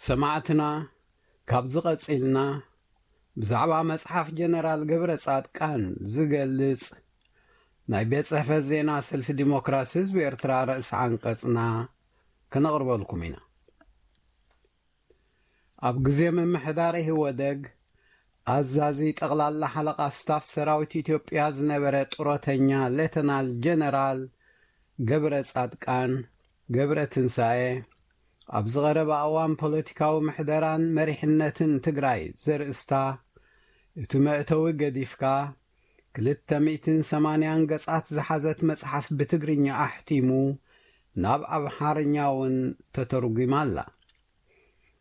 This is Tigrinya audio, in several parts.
ሰማዕትና፣ ካብዚ ቀጺልና ብዛዕባ መጽሓፍ ጀነራል ገብረ ጻድቃን ዝገልጽ ናይ ቤት ጽሕፈት ዜና ሰልፊ ዲሞክራሲ ህዝቢ ኤርትራ ርእሲ ዓንቀጽና ከነቕርበልኩም ኢና። ኣብ ግዜ ምምሕዳር ኢህወደግ ኣዛዚ ጠቕላላ ሓለቓ ስታፍ ሰራዊት ኢትዮጵያ ዝነበረ ጡረተኛ ሌተናል ጀነራል ገብረ ጻድቃን ገብረ ትንሳኤ፣ ኣብዚ ቀረባ እዋን ፖለቲካዊ ምሕደራን መሪሕነትን ትግራይ ዘርእስታ፣ እቲ መእተዊ ገዲፍካ፣ ክልተ ሚእትን ሰማንያን ገጻት ዝሓዘት መጽሓፍ ብትግርኛ ኣሕቲሙ ናብ ኣምሓርኛ እውን ተተርጒማ ኣላ።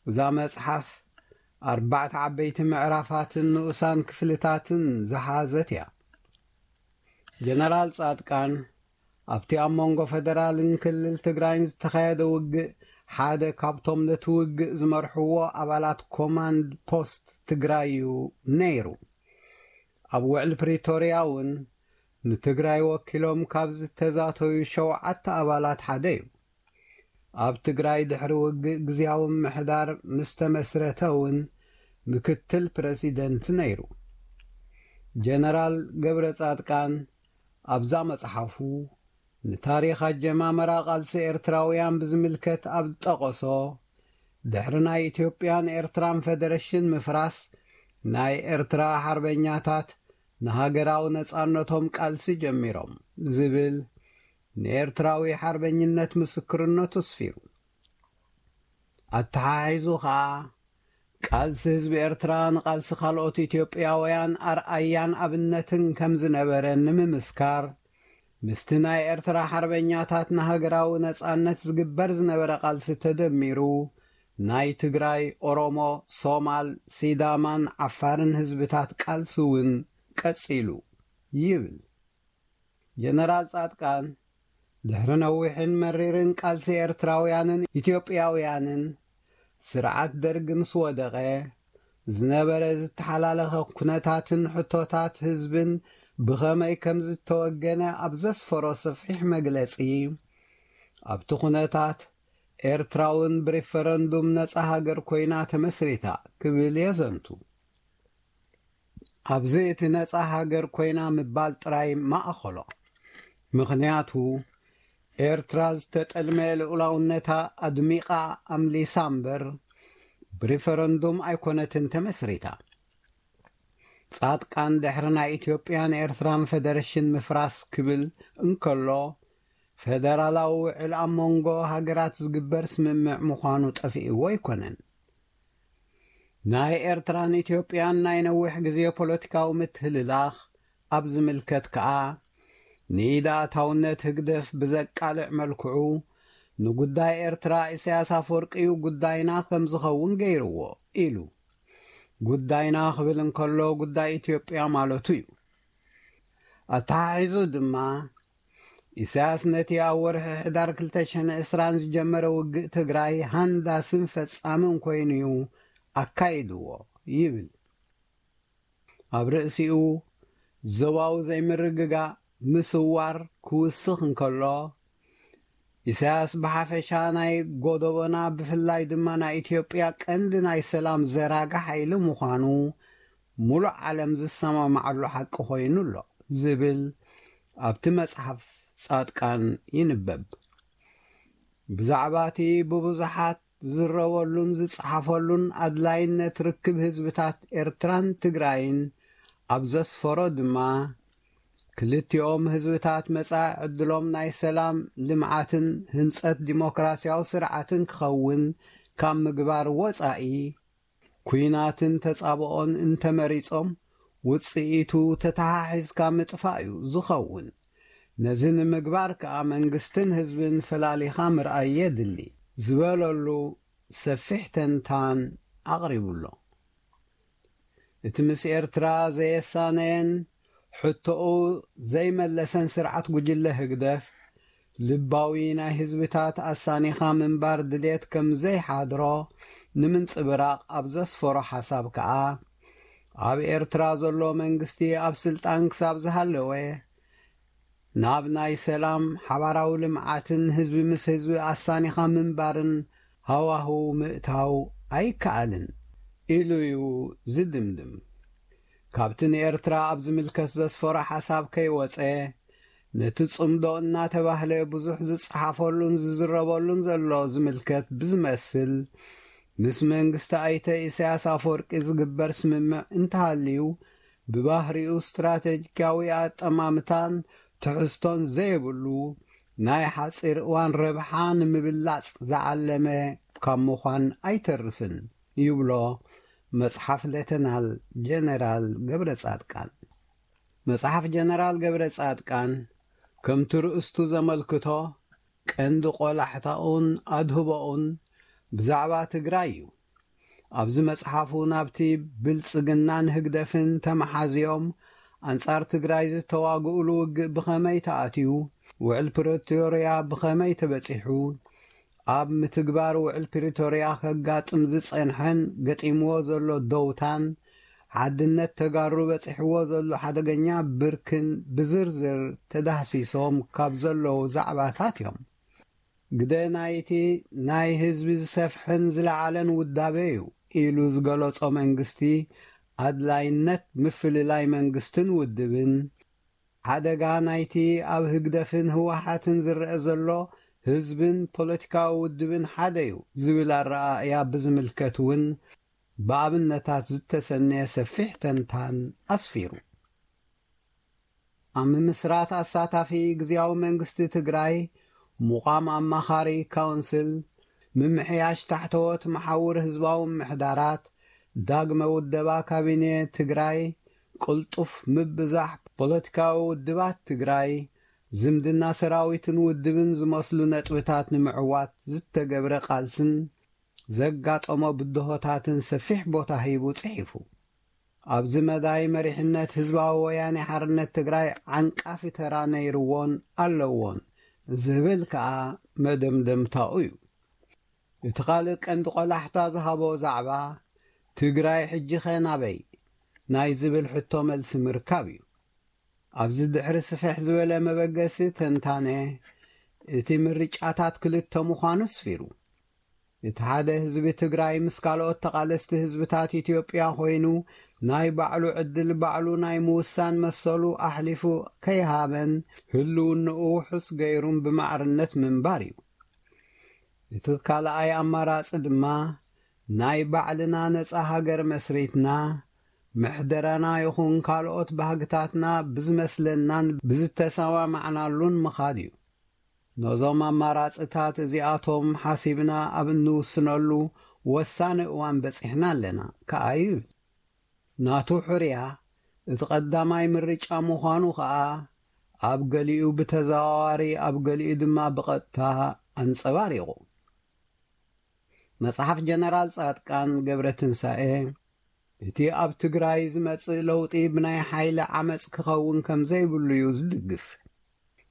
እዛ መጽሓፍ ኣርባዕተ ዓበይቲ ምዕራፋትን ንኡሳን ክፍልታትን ዝሓዘት እያ። ጀነራል ጻድቃን ኣብቲ ኣብ መንጎ ፈደራልን ክልል ትግራይን ዝተኻየደ ውግእ ሓደ ካብቶም ነቲ ውግእ ዝመርሕዎ ኣባላት ኮማንድ ፖስት ትግራይ እዩ ነይሩ። ኣብ ውዕል ፕሪቶርያ እውን ንትግራይ ወኪሎም ካብ ዝተዛተዩ ሸውዓተ ኣባላት ሓደ እዩ። ኣብ ትግራይ ድሕሪ ውግእ ግዝያዊ ምምሕዳር ምስ ተመስረተ እውን ምክትል ፕረሲደንት ነይሩ። ጀነራል ገብረ ጻድቃን ኣብዛ መጽሓፉ ንታሪኽ ኣጀማመራ ቃልሲ ኤርትራውያን ብዝምልከት ኣብ ዝጠቐሶ፣ ድሕሪ ናይ ኢትዮጵያን ኤርትራን ፈደረሽን ምፍራስ፣ ናይ ኤርትራ ሓርበኛታት ንሃገራዊ ነጻነቶም ቃልሲ ጀሚሮም ዝብል ንኤርትራዊ ሓርበኝነት ምስክርነቱ ኣስፊሩ። ኣተሓሒዙ ኸኣ፣ ቃልሲ ህዝቢ ኤርትራ ንቃልሲ ካልኦት ኢትዮጵያውያን ኣርኣያን ኣብነትን ከም ዝነበረ ንምምስካር፣ ምስቲ ናይ ኤርትራ ሓርበኛታት ንሃገራዊ ነጻነት ዝግበር ዝነበረ ቃልሲ ተደሚሩ፣ ናይ ትግራይ፣ ኦሮሞ፣ ሶማል፣ ሲዳማን ዓፋርን ህዝብታት ቃልሲ እውን ቀጺሉ ይብል። ጀነራል ጻድቃን፣ ድሕሪ ነዊሕን መሪርን ቃልሲ ኤርትራውያንን ኢትዮጵያውያንን፣ ስርዓት ደርግ ምስ ወደቐ፣ ዝነበረ ዝተሓላለኸ ኩነታትን ሕቶታት ህዝብን ብኸመይ ከም ዝተወገነ ኣብ ዘስፈሮ ሰፊሕ መግለጺ፣ ኣብቲ ኩነታት ኤርትራ እውን ብሪፈረንዱም ነጻ ሃገር ኮይና ተመስሪታ ክብል የዘንቱ። ኣብዚ እቲ ነጻ ሃገር ኮይና ምባል ጥራይ ማእኸሎ። ምኽንያቱ፣ ኤርትራ ዝተጠልመ ልኡላውነታ ኣድሚቓ ኣምሊሳ እምበር፣ ብሪፈረንዱም ኣይኮነትን ተመስሪታ። ጻድቃን ድሕሪ ናይ ኢትዮጵያን ኤርትራን ፈደረሽን ምፍራስ ክብል እንከሎ፣ ፈደራላዊ ውዕል ኣብ መንጎ ሃገራት ዝግበር ስምምዕ ምዃኑ ጠፊእዎ ኣይኮነን። ናይ ኤርትራን ኢትዮጵያን ናይ ነዊሕ ግዜ ፖለቲካዊ ምትህልላኽ ኣብ ዝምልከት ከኣ፣ ንኢድ ኣእታውነት ህግደፍ ብዘቃልዕ መልክዑ፣ ንጉዳይ ኤርትራ ኢሳያስ ኣፈወርቂ እዩ ጉዳይና ከም ዝኸውን ገይርዎ ኢሉ። ጉዳይና ክብል እንከሎ፣ ጉዳይ ኢትዮጵያ ማለቱ እዩ። ኣተሓሒዙ ድማ፣ ኢሳያስ ነቲ ኣብ ወርሒ ሕዳር ክልተ ሽሕን ዕስራን ዝጀመረ ውግእ ትግራይ ሃንዳስን ፈጻምን ኮይኑ እዩ ኣካይድዎ ይብል። ኣብ ርእሲኡ፣ ዞባዊ ዘይምርግጋእ ምስዋር ክውስኽ እንከሎ፣ ኢሳያስ ብሓፈሻ ናይ ጎደቦና፣ ብፍላይ ድማ ናይ ኢትዮጵያ ቀንዲ ናይ ሰላም ዘራጊ ሓይሊ ምዃኑ ምሉእ ዓለም ዝሰማማዓሉ ሓቂ ኮይኑ ኣሎ ዝብል ኣብቲ መጽሓፍ ጻድቃን ይንበብ። ብዛዕባ እቲ ብብዙሓት ዝዝረበሉን ዝጸሓፈሉን ኣድላይነት ርክብ ህዝብታት ኤርትራን ትግራይን ኣብ ዘስፈሮ ድማ፣ ክልቲኦም ህዝብታት መጻኢ ዕድሎም ናይ ሰላም፣ ልምዓትን ህንጸት ዲሞክራስያዊ ስርዓትን ክኸውን ካብ ምግባር ወጻኢ፣ ኲናትን ተጻብኦን እንተመሪጾም፣ ውጽኢቱ ተተሓሒዝካ ምጥፋእ እዩ ዝኸውን። ነዚ ንምግባር ከኣ መንግስትን ህዝብን ፈላሊኻ ምርኣይ የድሊ ዝበለሉ ሰፊሕ ተንታን ኣቕሪቡ ኣሎ። እቲ ምስ ኤርትራ ዘየሳነየን ሕቶኡ ዘይመለሰን ስርዓት ጉጅለ ህግደፍ፣ ልባዊ ናይ ህዝብታት ኣሳኒኻ ምንባር ድልየት ከም ዘይሓድሮ ንምንጽብራቕ ኣብ ዘስፈሮ ሓሳብ ከኣ፣ ኣብ ኤርትራ ዘሎ መንግስቲ ኣብ ስልጣን ክሳብ ዝሃለወ፣ ናብ ናይ ሰላም፣ ሓባራዊ ልምዓትን ህዝቢ ምስ ህዝቢ ኣሳኒኻ ምንባርን ሃዋህው ምእታው ኣይከኣልን ኢሉ እዩ ዝድምድም። ካብቲ ንኤርትራ ኣብ ዝምልከት ዘስፈሮ ሓሳብ ከይወጸ፣ ነቲ ጽምዶ እናተባህለ ብዙሕ ዝጸሓፈሉን ዝዝረበሉን ዘሎ ዝምልከት ብዝመስል፣ ምስ መንግስቲ ኣይተ ኢሳያስ ኣፈወርቂ ዝግበር ስምምዕ እንተሃልዩ፣ ብባህሪኡ ስትራቴጂካዊ ኣጠማምታን ትሕዝቶን ዘይብሉ፣ ናይ ሓጺር እዋን ረብሓ ንምብላጽ ዝዓለመ ካብ ምዃን ኣይተርፍን ይብሎ መጽሓፍ ሌተናል ጀነራል ገብረ ጻድቃን። መጽሓፍ ጀነራል ገብረ ጻድቃን ከምቲ ርእስቱ ዘመልክቶ ቀንዲ ቆላሕታኡን ኣድህቦኡን ብዛዕባ ትግራይ እዩ። ኣብዚ መጽሓፉ ናብቲ ብልጽግናን ህግደፍን ተመሓዝዮም ኣንጻር ትግራይ ዝተዋግኡሉ ውግእ ብኸመይ ተኣትዩ፣ ውዕል ፕሪቶርያ ብኸመይ ተበጺሑ፣ ኣብ ምትግባር ውዕል ፕሪቶርያ ከጋጥም ዝጸንሐን ገጢምዎ ዘሎ ደውታን ሓድነት ተጋሩ በጺሕዎ ዘሎ ሓደገኛ ብርክን ብዝርዝር ተዳህሲሶም ካብ ዘለዉ ዛዕባታት እዮም። ግደ ናይቲ ናይ ህዝቢ ዝሰፍሐን ዝለዓለን ውዳበ እዩ ኢሉ ዝገለጾ መንግስቲ ኣድላይነት ምፍልላይ መንግስትን ውድብን፣ ሓደጋ ናይቲ ኣብ ህግደፍን ህወሓትን ዝረአ ዘሎ ህዝብን ፖለቲካዊ ውድብን ሓደ እዩ ዝብል ኣረኣእያ ብዝምልከት እውን ብኣብነታት ዝተሰነየ ሰፊሕ ተንታን ኣስፊሩ። ኣብ ምምስራት ኣሳታፊ ግዝያዊ መንግስቲ ትግራይ፣ ምቋም ኣማኻሪ ካውንስል፣ ምምሕያሽ ታሕተዎት መሓውር ህዝባዊ ምሕዳራት፣ ዳግመ ውደባ ካቢኔ ትግራይ፣ ቅልጡፍ ምብዛሕ ፖለቲካዊ ውድባት ትግራይ፣ ዝምድና ሰራዊትን ውድብን ዝመስሉ ነጥብታት ንምዕዋት ዝተገብረ ቃልስን ዘጋጠሞ ብድሆታትን ሰፊሕ ቦታ ሂቡ ጽሒፉ። ኣብዚ መዳይ መሪሕነት ህዝባዊ ወያኔ ሓርነት ትግራይ ዓንቃፊ ተራ ነይርዎን ኣለዎን ዝብል ከኣ መደምደምታኡ እዩ። እቲ ካልእ ቀንዲ ቆላሕታ ዝሃቦ ዛዕባ ትግራይ ሕጂኸ ናበይ ናይ ዝብል ሕቶ መልሲ ምርካብ እዩ። ኣብዚ ድሕሪ ስፍሕ ዝበለ መበገሲ ተንታነ፣ እቲ ምርጫታት ክልተ ምዃኑ ኣስፊሩ። እቲ ሓደ ህዝቢ ትግራይ ምስ ካልኦት ተቓለስቲ ህዝብታት ኢትዮጵያ ኮይኑ ናይ ባዕሉ ዕድል ባዕሉ ናይ ምውሳን መሰሉ ኣሕሊፉ ከይሃበን ህልውንኡ ውሑስ ገይሩን ብማዕርነት ምንባር እዩ። እቲ ካልኣይ ኣማራጺ ድማ ናይ ባዕልና ነጻ ሃገር መስሪትና ምሕደራና ይኹን ካልኦት ባህግታትና ብዝመስለናን ብዝተሰማማዕናሉን ምኻድ እዩ። ነዞም ኣማራጽታት እዚኣቶም ሓሲብና ኣብ እንውስነሉ ወሳኒ እዋን በጺሕና ኣለና ከኣ ይብል። ናቱ ሕርያ እቲ ቀዳማይ ምርጫ ምዃኑ ከኣ ኣብ ገሊኡ ብተዘዋዋሪ ኣብ ገሊኡ ድማ ብቐጥታ ኣንጸባሪቑ። መጽሓፍ ጀነራል ጻድቃን ገብረትንሳኤ፣ እቲ ኣብ ትግራይ ዝመጽእ ለውጢ ብናይ ሓይሊ ዓመጽ ክኸውን ከም ዘይብሉ እዩ ዝድግፍ።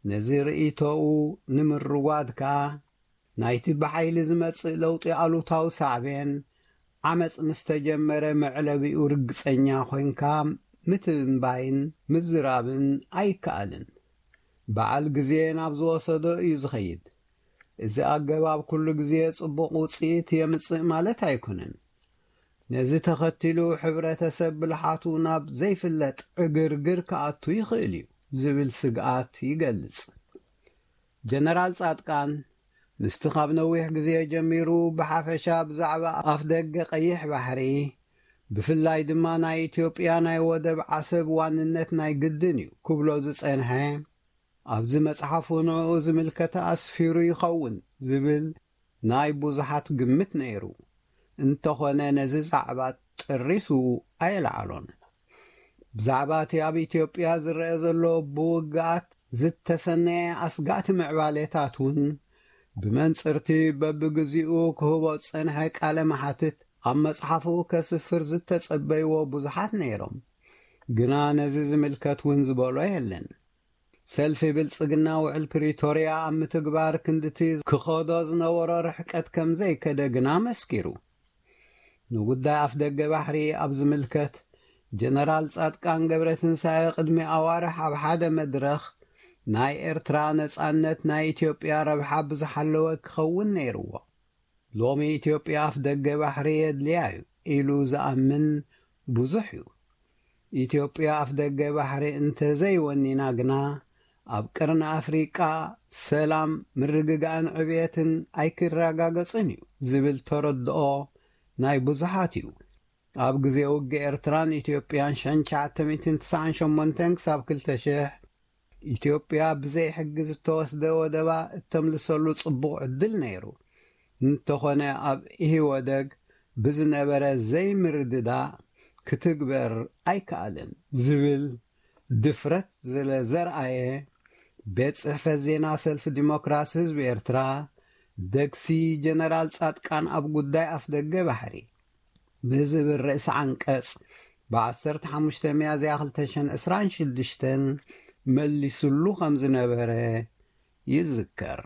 ነዚ ርእይቶኡ ንምርዋድ ከኣ ናይቲ ብሓይሊ ዝመጽእ ለውጢ ኣሉታዊ ሳዕቤን ዓመጽ ምስ ተጀመረ መዕለቢኡ ርግጸኛ ኮይንካ ምትንባይን ምዝራብን ኣይከኣልን። በዓል ግዜ ናብ ዝወሰዶ እዩ ዝኸይድ። እዚ ኣገባብ ኩሉ ግዜ ጽቡቕ ውጽኢት የምጽእ ማለት ኣይኮነን። ነዚ ተኸቲሉ ሕብረተሰብ ብልሓቱ ናብ ዘይፍለጥ ዕግርግር ክኣቱ ይኽእል እዩ ዝብል ስግኣት ይገልጽ። ጀነራል ጻድቃን ምስቲ ካብ ነዊሕ ግዜ ጀሚሩ ብሓፈሻ ብዛዕባ ኣፍደገ ቀይሕ ባሕሪ፣ ብፍላይ ድማ ናይ ኢትዮጵያ ናይ ወደብ ዓሰብ ዋንነት ናይ ግድን እዩ ክብሎ ዝጸንሐ፣ ኣብዚ መጽሓፉ ንዕኡ ዝምልከተ ኣስፊሩ ይኸውን ዝብል ናይ ብዙሓት ግምት ነይሩ። እንተኾነ ነዚ ዛዕባ ጠሪሱ ኣየለዓሎን። ብዛዕባ እቲ ኣብ ኢትዮጵያ ዝረአ ዘሎ ብውግኣት ዝተሰነየ ኣስጋእቲ ምዕባሌታት እውን ብመንጽርቲ በብግዚኡ ክህቦ ዝጸንሐ ቃለ መሓትት ኣብ መጽሓፉ ከስፍር ዝተጸበይዎ ብዙሓት ነይሮም። ግና ነዚ ዝምልከት እውን ዝበሎ የለን። ሰልፊ ብልጽግና ውዕል ፕሪቶርያ ኣብ ምትግባር ክንድቲ ክኸዶ ዝነበሮ ርሕቀት ከም ዘይከደ ግና መስኪሩ። ንጉዳይ ኣፍደገ ባሕሪ ኣብ ዝምልከት፣ ጀነራል ጻድቃን ገብረትንሳኤ ቅድሚ ኣዋርሕ ኣብ ሓደ መድረኽ፣ ናይ ኤርትራ ነጻነት ናይ ኢትዮጵያ ረብሓ ብዝሓለወ ክኸውን ነይርዎ። ሎሚ ኢትዮጵያ ኣፍ ደገ ባሕሪ የድልያ እዩ ኢሉ ዝኣምን ብዙሕ እዩ። ኢትዮጵያ ኣፍ ደገ ባሕሪ እንተዘይወኒና ግና ኣብ ቅርኒ ኣፍሪቃ ሰላም፣ ምርግጋእን ዕብየትን ኣይክረጋገጽን እዩ ዝብል ተረድኦ ናይ ብዙሓት እዩ። ኣብ ግዜ ውግእ ኤርትራን ኢትዮጵያን ሽሕን ትሽዓተ ሚእትን ትስዓን ሸሞንተን ክሳብ ክልተ ሽሕ ኢትዮጵያ ብዘይ ሕጊ ዝተወስደ ወደባ እተምልሰሉ ጽቡቕ ዕድል ነይሩ። እንተኾነ ኣብ ኢህወደግ ብዝነበረ ዘይምርድዳእ ክትግበር ኣይከኣልን ዝብል ድፍረት ስለ ዘርኣየ ቤት ጽሕፈት ዜና ሰልፊ ዲሞክራሲ ህዝቢ ኤርትራ ደግሲ ጀነራል ጻድቃን ኣብ ጉዳይ ኣፍ ደገ ባሕሪ ብዝብል ርእሲ ዓንቀጽ ብ15 ሚያዝያ ክልተ ሽሕን ዕስራን ሽዱሽተን መሊስሉ ከም ዝነበረ ይዝከር።